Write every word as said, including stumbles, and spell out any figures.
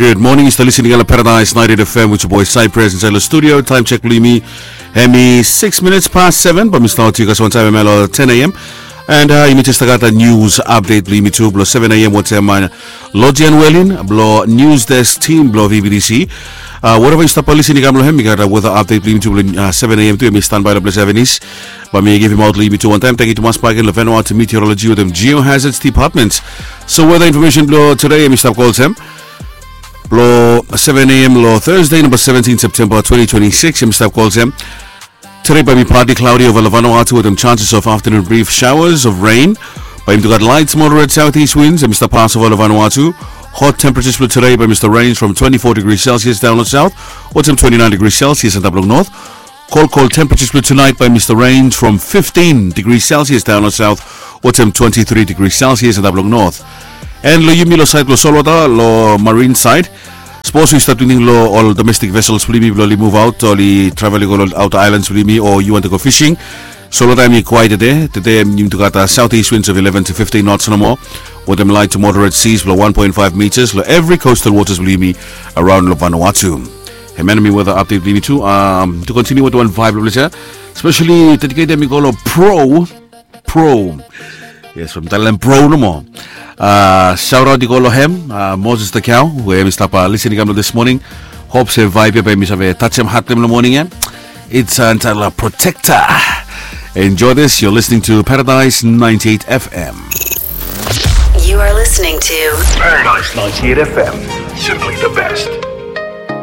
Gud moning, yu stap lisin i gat long Paradise ninety-eight F M with your boy Cypress inside long studio. Time check bilong yumi, hemi six minutes past seven, but mi stap yu guys one time, hemi long ten a.m. And uh, yumi just got the news update bilong yumi tu bilong seven a.m. with um, uh, Lojian Welin bilong news desk team bilong V B T C. Uh, whatever yu stap lisin i gat long hem, yu gat a weather update bilong yumi tu bilong uh, seven a.m. tu, hemi standby long ples Avenis. But mi givim out long yumi tu one time. Thank you to Mas Pagan, Vanuatu Meteorology with them Geohazards Department. So weather information bilong today, hemi stap call them. Lo seven a.m. lo Thursday, number seventeen September twenty twenty-six, hemi stap call them. Today by me partly cloudy over Vanuatu with them chances of afternoon brief showers of rain. By him to got light, moderate southeast winds, hemi stap pass over Vanuatu. Hot temperatures for today by Mr. Rains from twenty-four degrees Celsius down south, or some twenty-nine degrees Celsius and up north. Cold, cold temperatures for tonight by Mr. Rains from fifteen degrees Celsius down south, or some twenty-three degrees Celsius and up north. And lo yumi lo side lo Solwata, lo marine side. Suppose we start thinking lo all domestic vessels bilong yumi bilong oli move out, oli travel i go lo outer islands bilong yumi, or you want to go fishing. So lo taim i quiet today. Today yumi tu gat uh, southeast winds of eleven to fifteen knots no more. With them light to moderate seas below one point five meters lo every coastal waters bilong yumi around lo Vanuatu. Hey man, mi weather update bilong yumi tu. Um, to continue with one vibe lo pleasure, especially dedicate them i go lo pro pro. Yes, from Thailand pro no more. Uh, shout out i go lo hem, uh, Moses the cow, we hemi stap uh, listening come this morning. Hope se vibe ya by mi save touch him heart them in the morning, yeah. It's uh, entitled uh, Protector. Enjoy this. You're listening to Paradise ninety-eight F M. You are listening to Paradise ninety-eight F M. Simply the best.